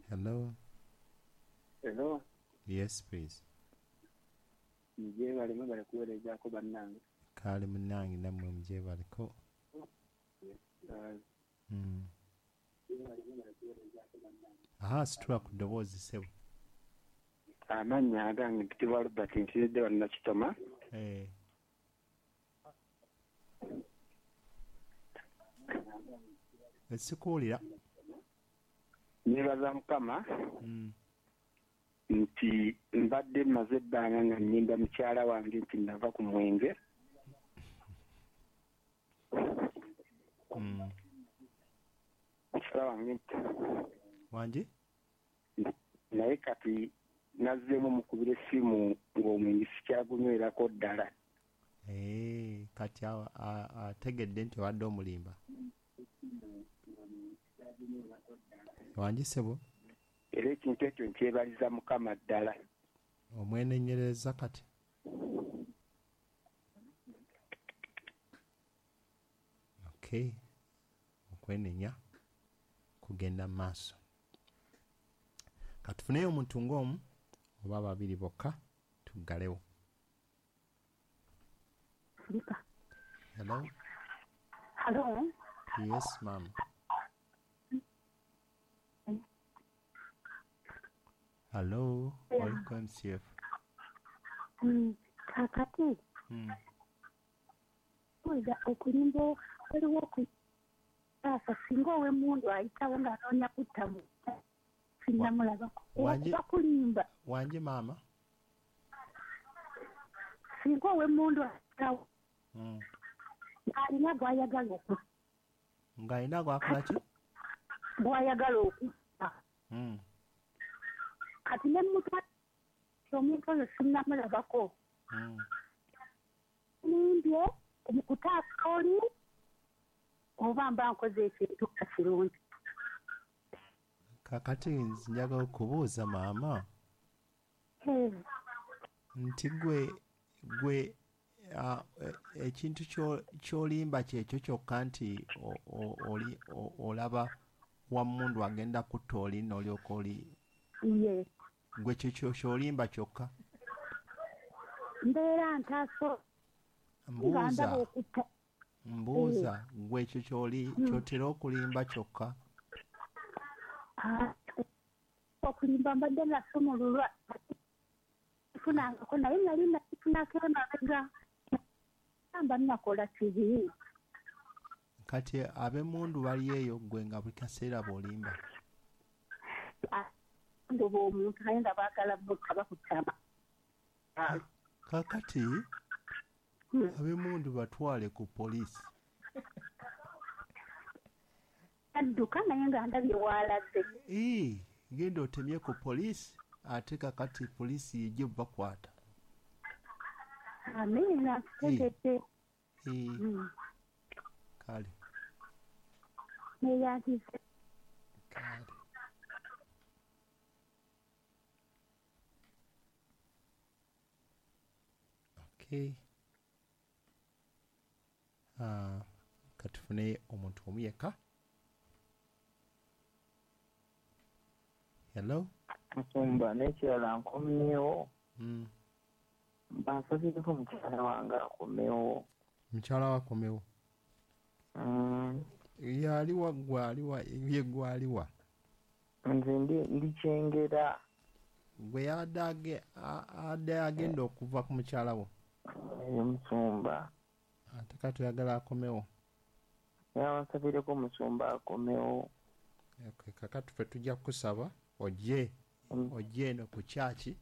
Hello. Hello. Yes, please. Mujebale, mwebale kuweerezaako bannange. Kaali munnange, nammwe mujebaleko. Aha, situla ku ddoboozi, ssebo. Amannya agange mpitibwa Robert, nsiridde wano Nakitoma. Sikuwulira. Neebaza Mukama nti mbadde mmaze ebbanga nga nnyimba mukyala wange nti nava ku mwenge. Mukyala wange nti Wangi? Naye kati nazzeemu mukubira essimu ng'omwenge sikyagunywerako ddala. Kati ategedde nti obadde omulimba. Wangi, ssebo? Era ekintu ekyo nkyebaliza Mukama ddala. Omwenenyereza kati? Okay. Okwenenya kugenda mu maaso. Katufuneyo omuntu ng'omu oba babiri bokka tuggalewo. Hello? Hello? Yes, ma'am. Hello, welcome MCF. Kakati. Okulimba waliwo okutaasa singa ow'emmundu ayitawo ng'anoonya kutta muntu sinnamulabako. Bakulimba. Wangi maama? Singa ow'emmundu ayitawo ng'alina gw'ayagala okutta. Ng'alina gw'akola ki? Gw'ayagala okutta. Kati ne mutwala omuntu oyo sinnamulabako. Nimbye mu kutaasa oli oba mba nkoze ekintu nga kirungi. Kakati njagala okubuuza maama. Nti gwe ekintu ky'olimba kyekyo kyokka nti oli olaba wammundu agenda kutta oli n'olyoka oli. Ye. Gwe kyekyo ky'olimba kyokka. Mbeera ntaaso. Mbuuza gwe ekyo ky'otera okulimba kyokka. Okulimba mbadde nasumululwa funangako naye nali nakifunako emabega mba nakola kibi. Kati ab'emmundu bali eyo gwe nga buli kaseera bw'olimba. Ndoba omuntu naye nga baagala bokka bakutama. Kakati ab'emmundu batwale ku poliisi. Adduka naye nga ndabye w'alaze. Genda otemye ku poliisi ate kakati poliisi yejje bakwata. Amiina, ntegedde. Kale. Neyanzize. Kale. Okay. Katufune omuntu omu yekka. Hello? Musumba, n'ekirala nkomyewo. Bansabireko mukyala wange akomewo. Mukyala wakomewo? Yaliwa gwaliwa, ye gwaliwa? Nze ndi Kyengera. Gwe yadde agenda okuva ku mukyala wo? Musumba. Ate kati oyagala akomewo? Yabansabireko musumba akomewo. Okay, kakati ffe tujja kukusaba ojje eno ku kyaki.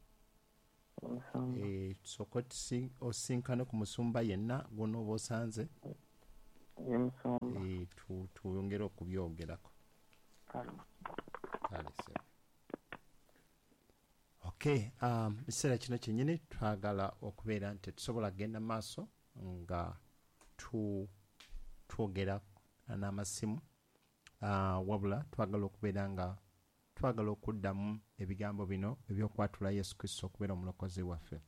Tusooke osinkane ku musumba yenna gw'onooba osanze. Twongere okubyogerako. Kale ssebo. Okay, ekiseera kino kyennyini twagala okubeera nti tetusobola kugenda maaso nga twogera n'amasimu. Wabula twagala okubeera nga twagala okuddamu ebigambo bino ebyokwatula Yesu Kristo okubeera omulokozi waffe.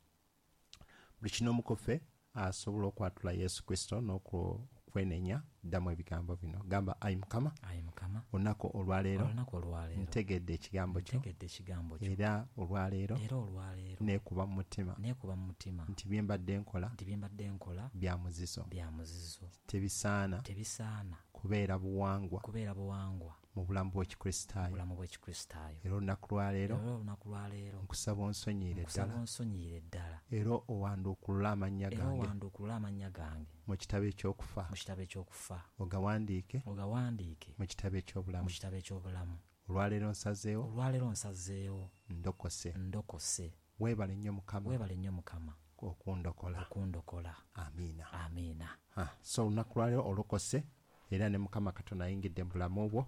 Buli kinoomu ku ffe asobola okwatula Yesu Kristo n'okwatula kwenenya, ddamu ebigambo bino. Gamba, ayi Mukama, Ayi Mukama, olunaku olwaleero olunaku olwaleero ntegedde ekigambo kyo, ntegedde ekigambo kyo, era olwaleero era olwaleero neekuba mu mutima neekuba mu mutima nti bye mbadde nkola nti bye mbadde nkola bya muzizo, bya muzizo, tebisaana tebisaana kubeera buwangwa kubeera buwangwa mu bulamu bw'Ekikristaayo. bulamu bw'Ekikristaayo. Era olunaku lwaleero Era olunaku lwaleero nkusaba onsonyiire nkusaba ddala, onsonyiire ddala, era owanduukulule amannya era gange owanduukulule amannya gange mu kitabo eky'okufa, mu kitabo eky'okufa, ogawandiike ogawandiike mu kitabo eky'obulamu. mu kitabo eky'obulamu. Olwaleero nsazeewo, Olwaleero nsazeewo, ndokose. ndokose. Weebale nnyo Mukama Weebale nnyo Mukama okundokola. okundokola. Amiina. Amiina. So olunaku lwaleero olokose, era ne Mukama Katonda ayingidde mu bulamu bwo,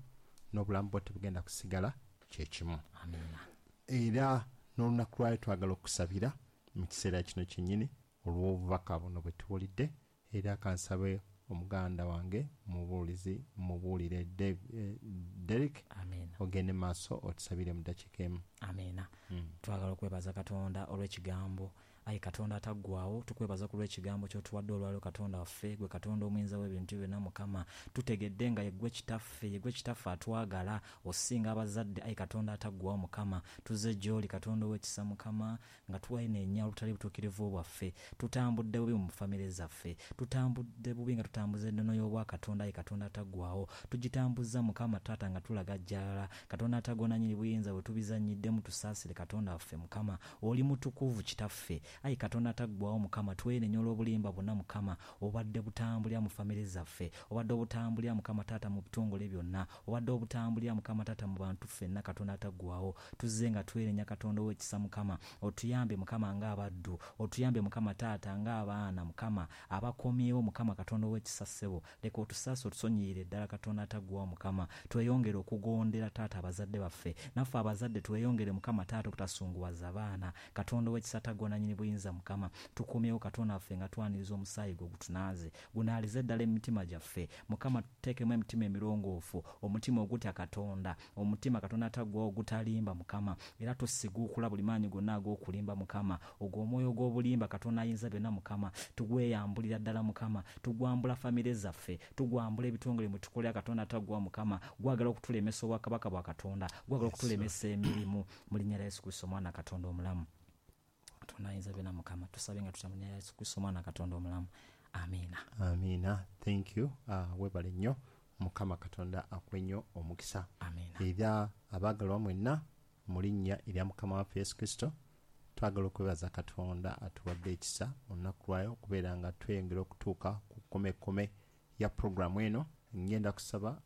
n'obulamu bwo tebugenda kusigala kyekimu. Amiina. Era n'olunaku lwaleero twagala okusabira mu kiseera kino kyennyini olw'obubaka buno bwe tuwulidde. Era kansabe omuganda wange mubuulizi mubuulire Derek, Amiina. ogende maaso otusabire mu ddakiika emu. Amiina. Twagala okwebaza Katonda olw'ekigambo. Ayi Katonda ataggwaawo, tukwebaza ku lw'ekigambo ky'otuwadde olwaleero. Katonda waffe, gwe Katonda omuyinza w'ebintu byonna. Mukama, tutegedde nga yeggwe Kitaffe, yeggwe Kitaffe atwagala osinga abazadde. Ayi Katonda ataggwaawo Mukama, tuzze gy'oli Katonda ow'ekisa Mukama, nga twenenya olutali butuukirivu bwaffe. Tutambudde bubi mu famire zaffe, tutambudde bubi nga tutambuza ennono y'obwakatonda. Ayi Katonda ataggwaawo, tugitambuza Mukama Taata nga tulaga jjalala. Katonda ataggwaawo nannyini buyinza, bwe tubizannyiddemu tusaasire Katonda waffe Mukama, oli mutukuvu Kitaffe. Ayi Katonda ataggwaawo Mukama, twenenya olw'obulimba bwonna Mukama obadde butambulira mu famire zaffe, obadde obutambulira Mukama Taata mu bitongole byonna, obadde obutambulira Mukama Taata mu bantu ffenna. Katonda ataggwaawo, tuzze nga twenenya Katonda ow'ekisa Mukama, otuyambe Mukama ng'abaddu, otuyambe Mukama Taata ng'abaana Mukama abakomyewo Mukama. Katonda ow'ekisa ssebo, leka otusaase otusonyiyire ddala Katonda ataggwaawo Mukama. Tweyongere okugondera Taata abazadde baffe, naffe abazadde tweyongere Mukama Taata obutasunguwaza baana. Katonda ow'ekisa ataggwaawo nannyini buyinza Mukama, tukomyewo Katonda waffe nga twaniriza omusaayi gwe gutunaaze, gunaalize ddala emitima gyaffe Mukama. Tuteekemu emitima emirongoofu, omutima ogutya Katonda, omutima Katonda ataggwaawo ogutalimba Mukama, era tusiguukula buli maanyi gonna ag'okulimba Mukama. Ogwo omwoyo ogw'obulimba Katonda ayinza byonna Mukama, tugweyambulira ddala Mukama, tugwambula famire zaffe, tugwambula ebitongole mwe tukolera Katonda ataggwaawo Mukama. Gwagala okutulemesa obwakabaka bwa Katonda, gwagala okutulemesa emirimu, mu linnya lya Yesu Kristo omwana Katonda omulamu. Katonda ayinza byonna Mukama, tusabe nga tutya mu linnya lya Yesu Kristo omwana Katonda omulamu. Amiina. Amiina. Thank you. Weebale nnyo. Mukama Katonda akuwe nnyo omukisa. Amiina. Era abaagalwa mwenna mu linnya erya Mukama waffe Yesu Kristo, twagala okwebaza Katonda atuwadde ekisa olunaku lwayo okubeera nga tweyongera okutuuka ku kkomekome ya puroguramu eno. Ngenda kusaba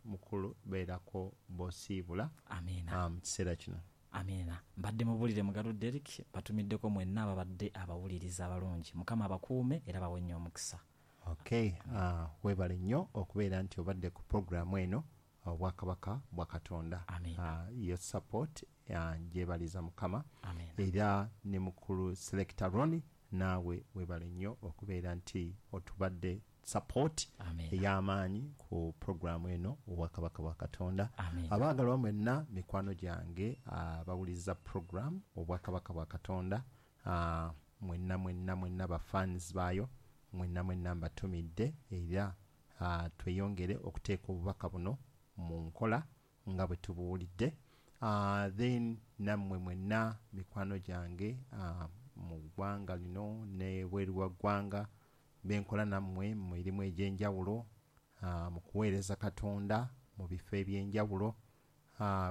mukulu beerako b'osiibula Amiina. Mu kiseera kino. Amiina. Mbadde mubulire Mugalu Derek, batumiddeko mwenna ababadde abawuliriza abalungi. Mukama abakuume era bawe nnyo omukisa. Okay, weebale nnyo okubeera nti obadde ku puroguramu eno Obwakabaka bwa Katonda. Amiina. Your support njebaliza Mukama. Amiina. Era ne mukulu Selector Ronnie, naawe weebale nnyo okubeera nti otubadde support Amiina. ey'amaanyi ku puroguramu eno Obwakabaka bwa Katonda. Amiina. Abaagalwa mwenna mikwano gyange abawuliriza puroguramu Obwakabaka bwa Katonda, mwenna mwenna mwenna bafans baayo mwenna mwenna mbatumidde, era tweyongere okuteeka obubaka buno mu nkola nga bwe tubuwulidde. Then nammwe mwenna mikwano gyange mu ggwanga lino ne bweru wa ggwanga benkola nammwe mu mirimu egy'enjawulo, mu kuweereza Katonda mu bifo ebyenjawulo,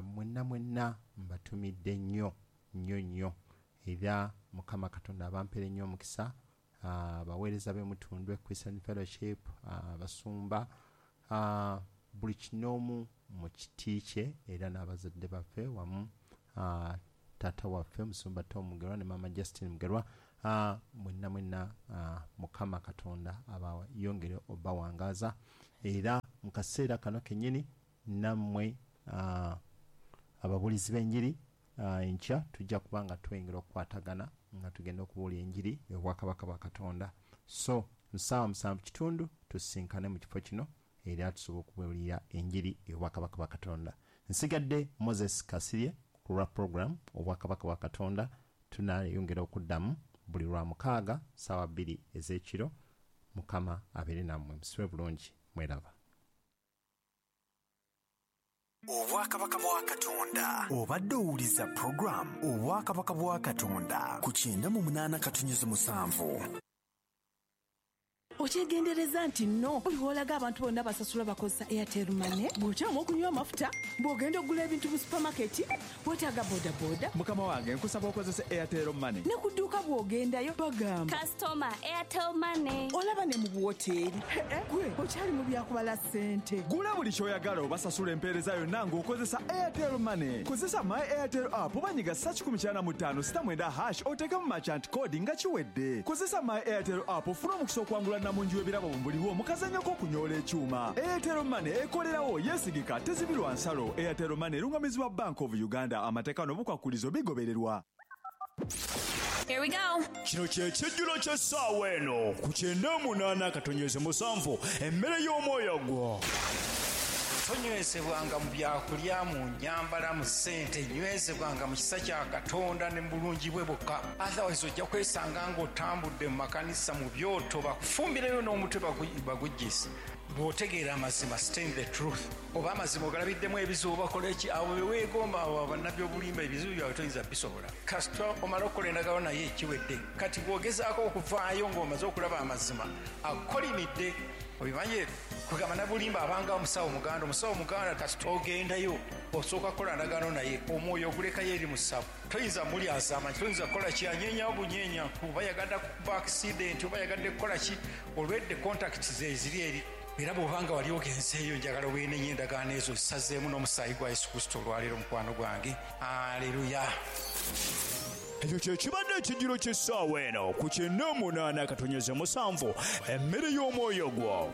mwenna mwenna mbatumidde nnyo nnyo nnyo, era Mukama Katonda abampere nnyo omukisa. Abaweereza b'Emutundwe Christian Fellowship, abasumba, buli kinoomu mu kiti kye, era n'abazadde baffe wamu taata waffe Musumba Tom Mugerwa ne Maama Justin Mugerwa, mwenna mwenna Mukama Katonda abayongere obbawangaaza. Era mu kaseera kano kennyini nammwe ababuulizi b'enjiri, enkya tujja kuba nga tweyongera okukwatagana nga tugenda okubuulira enjiri y'Obwakabaka bwa Katonda. So mu ssaawa 7:15 tusisinkane mu kifo kino era tusobola okubuulira enjiri y'Obwakabaka bwa Katonda. Nsigadde Moses Kasirye ku lwa program Obwakabaka bwa Katonda. Tunayongera okuddamu buli lwa mukaaga ssaawa 2 ez'ekiro. Mukama abeere nammwe, musibe bulungi, mweraba. Obwakabaka bwa Katonda. Obadde owuliza puroguramu Obwakabaka bwa Katonda ku 98.7. Okyegendereza nti nno buli lw'olaga abantu bonna basasula bakozesa Airtel Money, bw'okyamu okunywa amafuta, bw'ogenda okugula ebintu mu supamaketi, weetaaga bodaboda. Mukama wange, nkusaba okozese Airtel Money. Ne ku dduuka bw'ogendayo bagamba Kasitoma Airtel Money. Olaba ne mu buwoteeri, gwe okyali mu byakubala ssente. Gula buli ky'oyagala obasasula empeereza yonna ng'okozesa Airtel Money. Kozesa My Airtel app oba nyiga *195 *9# oteekemu merchant code nga kiwedde. Kozesa My Airtel app ofune omukisa okuwangula namungi w'ebirabo mu buliwo mu kazannyo k'okunyoola ekyuma. Airtel Money ekolerawo, yeesigika, tezibirwa nsalo. Airtel Money erungamizibwa Bank of Uganda. Amateeka n'obukwakulizo bigobererwa. Here we go. Kino kye kijjulo ky'essaawa eno ku 98.7, emmere y'omwoyo gwo. Tonywezebwanga mu byakulya, mu nyambala, mu ssente, nywezebwanga mu kisa kya Katonda ne mu bulungi bwe bwokka. Otherwise ojja kwesanga ng'otambudde mu makanisa mu byoto, bakufumbireyo n'omutwe baguggyise. Bw'otegeera amazima, stay in the truth. Oba amazima ogalabiddemu ebizibu, bakola ki abo be weegomba, abo bannabbi obulimba, ebizibu byabwe toyinza bisobola. Kasita omala okukola endagaano naye ekiwedde. Kati bw'ogezaako okuvaayo ng'omaze okulaba amazima, akukolimidde. Obimanyi kugamba nabulimba abanga omusawo muganda, omusawo muganda kasita ogendayo osooka kukola ndagaano naye, omwoyo ogulekayo eri musawo. Toyinza muli azamanyi, toyinza kukola ki, anyenyawo bunyenya, oba yagadde kuba accident, oba yagadde kukola ki, olwedde contact ze ziri eri. Era bw'obanga wali ogenzeeyo, njagala weenenye endagaano ezo zisazeemu n'omusaayi gwa Yesu Kristo olwaleero, mukwano gwange. Aleluya. Ekyo kye kibadde ekijjulo ky'essaawa eno ku 98.7, emmere y'omwoyo gwo.